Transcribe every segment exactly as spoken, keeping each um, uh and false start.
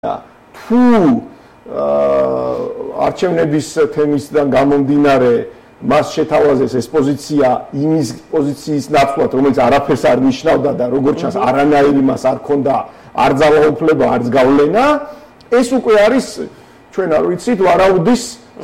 თუ არჩევნების თემისგან გამომდინარე მას შეთავაზეს ეს პოზიცია იმის პოზიციის ნაცვლად, რომელიც არაფერს არ ნიშნავდა და როგორც ჩანს არანაირი მას არ ქონდა არ ძალაუფლება, არც გავლენა, ეს უკვე არის ჩვენ არ ვიცით ვარაუდის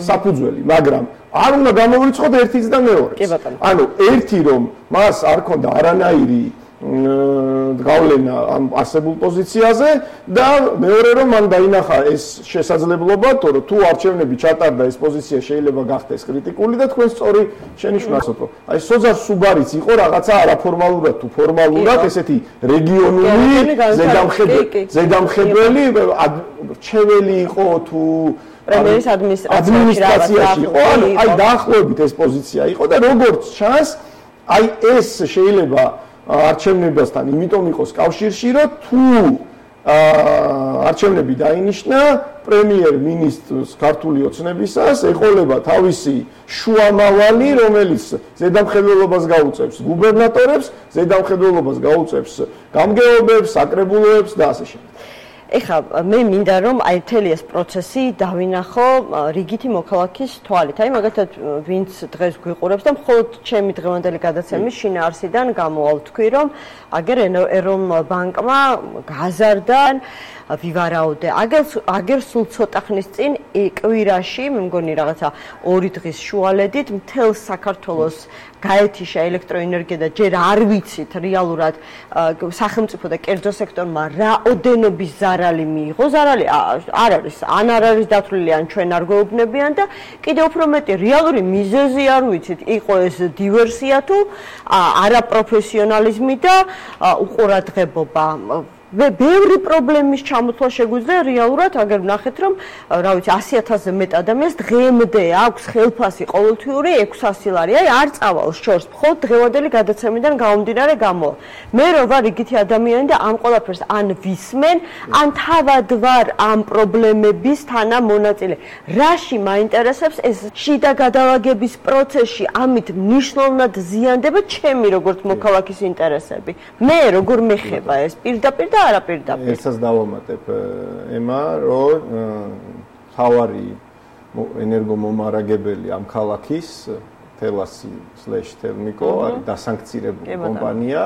საფუძველი, მაგრამ არ უნდა გამოვრიცხოთ ერთიც და მეორეც. ანუ ერთი რომ მას არ ქონდა არანაირი გავლენა ამ არსებულ პოზიციაზე და მეორე რომ მან დაინახა ეს შესაძლებლობა, თორე თუ არჩევნები ჩატარდა ეს პოზიცია შეიძლება გახდეს კრიტიკული და თქვენ სწორი შენიშვნასოთ, რომ აი სოზარ სუბარიც იყო რაღაცა არაფორმალურად თუ ფორმალურად ესეთი რეგიონული ზედამხედველი რჩეველი იყო თუ პრემიერის ადმინისტრაციაში იყო, აი დაახლოებით ეს პოზიცია იყო და როგორც ჩანს, აი ეს შეიძლება არჩევნებასთან იმიტომ იყოს კავშირში, რომ თუ არჩევნები დაინიშნა პრემიერ-მინისტრს ქართული ოცნებისას ეყოლება თავისი შუამავალი, რომელიც ზედამხედველობას გაუწევს გუბერნატორებს, ზედამხედველობას გაუწევს გამგეობებს, საკრებულოებს და ასე შემდეგ. ეხლა მე მინდა რომ აი მთელი ეს პროცესი დავინახო რიგითი მოქალაქის თვალით. აი მაგალითად ვინც დღეს გვიყურებს და მხოლოდ ჩემი დღევანდელი გადაცემის შინაარსიდან გამოვალ თქვი რომ აგერ ეროვნულ ბანკმა გაზარდა ვივარაუდე. აგერ აგერ სულ ცოტა ხნის წინ კვირაში, მე მგონი რაღაცა ორი დღის შუალედით მთელ საქართველოს გაეთიშა ელექტროენერგია და ჯერ არ ვიცით რეალურად სახელმწიფო და კერძო სექტორმა რაოდენობის ზარალი მიიღო. ზარალი არ არის, ან არ არის დათვლილი, ან ჩვენ არ გვეუბნებიან და კიდევ უფრო მეტი რეალური მიზეზი არ ვიცით. იყო ეს დივერსია თუ არაპროფესიონალიზმი და უყურადღებობა. ბევრი პრობლემის ჩამოთვლა შეგვიძლია რეალურად, აგერ ვნახეთ რომ რა ვიცი ასი ათასზე მეტ ადამიანს დღემდე აქვს ხელფასი ყოველთვიური ექვსასი ლარი. აი არ წავალ შორს, მხოლოდ დღევანდელი გადაცემიდან გამომდინარე გამოვალ. მე რო ვარ იგითი ადამიანი და ამ ყველაფერს ან ვისმენ, ან თავად ვარ ამ პრობლემების თანამონაწილე. რაში მაინტერესებს ეს შიდა გადალაგების პროცესში ამით მნიშვნელოვნად ზიანდება ჩემი როგორც მოქალაქის ინტერესები. მე როგორ მეხება ეს პირდაპირ არაპირდაპირ. ერთსაც დავამატებ ემა, რომ თავარი ენერგომომარაგებელი ამ ქალაქის თელასი/თელმიკო არის დასანქცირებული კომპანია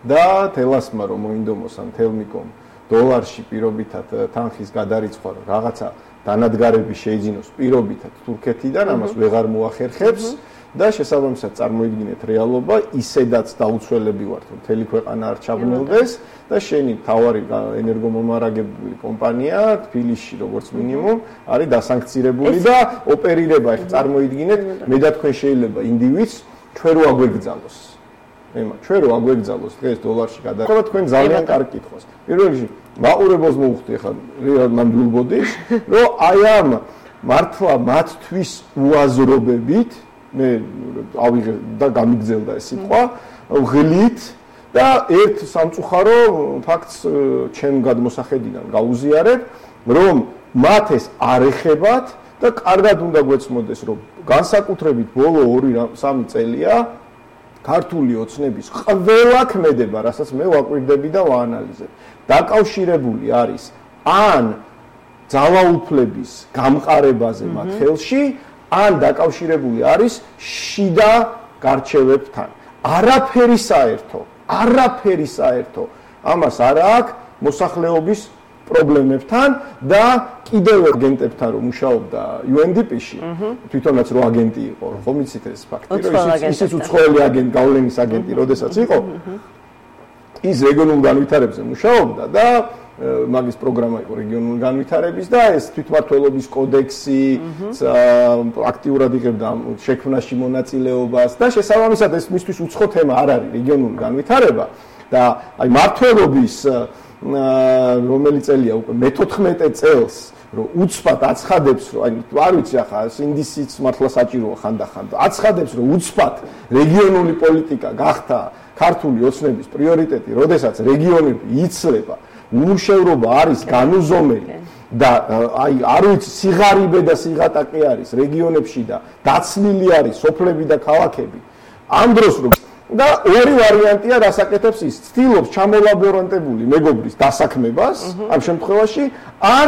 და თელასმა რომ მოინდომოს ამ თელმიკომ დოლარში პირობითად თანხის გადარიცხვა რაღაცა დანადგარები შეიძინოს პირობითად თურქეთიდან, ამას ვეღარ მოახერხებს. და შესაბამისად წარმოიდგინეთ რეალობა, ისედაც დაუცველები ვართ, რომ მთელი ქვეყანა არ ჩაბნელდეს და შენი თავარი ენერგომომარაგებელი კომპანია თბილისში როგორც მინიმუმ არის დასანქცირებული და ოპერირება. ეხლა წარმოიდგინეთ, მე და თქვენ შეიძლება ინდივიდს ჩვენ რო აგვეგზალოს. ემა, ჩვენ რო აგვეგზალოს დღეს დოლარში გადაყვა, თქვენ ძალიან კარგი კითხვას. პირველ რიგში მაყურებელს მოვხდი ეხლა ნამდვილ ბოდიშ, რომ აი ამ მართლა მათთვის უაზრობებით მე ავიღე და გამიგზელდა ეს სიტყვა ღლით და ერთ სამწუხარო ფაქტს ჩემ გადმოსახედიდან გაუზიარებ, რომ მათ ეს არ ეხებათ და კარგად უნდა გვეცმოდეს, რომ განსაკუთრებით ბოლო ორი სამი წელია ქართული ოცნების ყველა ქმედება, რასაც მე ვაკვირდები და ვაანალიზებ, დაკავშირებული არის ან ძალაუფლების გამყარებაზე მათ ხელში, ან დაკავშირებული არის შიდა გარჩევებთან. არაფერი საერთო, არაფერი საერთო ამას არ აქვს მოსახლეობის პრობლემებთან და კიდევ აგენტებთან რომ მუშაობდა იუ εν დი პი-ში, თვითონაც რო აგენტი იყო, ხომ იცით ეს ფაქტი, რომ ისიც უცხოელი აგენტი, გავლენის აგენტი, როდესაც იყო, ის რეგიონულ განვითარებაზე მუშაობდა და მაგის პროგრამა იყო რეგიონული განვითარების და ეს თვითმმართველობის კოდექსი აქტიურად იღებდა შექმნაში მონაწილეობას და შესაბამისად ეს მისთვის უცხო თემა არ არის რეგიონული განვითარება და აი მმართველობის რომელი წელია უკვე მეთოთხმეტე წელს რომ უცბად აცხადებს რომ აი არ ვიცი ახლა ინდისიც მართლა საჭიროა ხანდახან აცხადებს რომ უცბად რეგიონული პოლიტიკა გახდა ქართული ოცნების პრიორიტეტი, როდესაც რეგიონები იცლება, უმუშევრობა არის განუზომელი და აი არ ვიცი სიღარიბე და სიღატაკე არის რეგიონებში და დაცლილი არის სოფლები და ქალაქები. ამ დროს რომ და ორი ვარიანტია რასაკეთებს ის, ცდილობს ჩამოლაბორანტებული მეგობრის დასაქმებას ამ შემთხვევაში, ან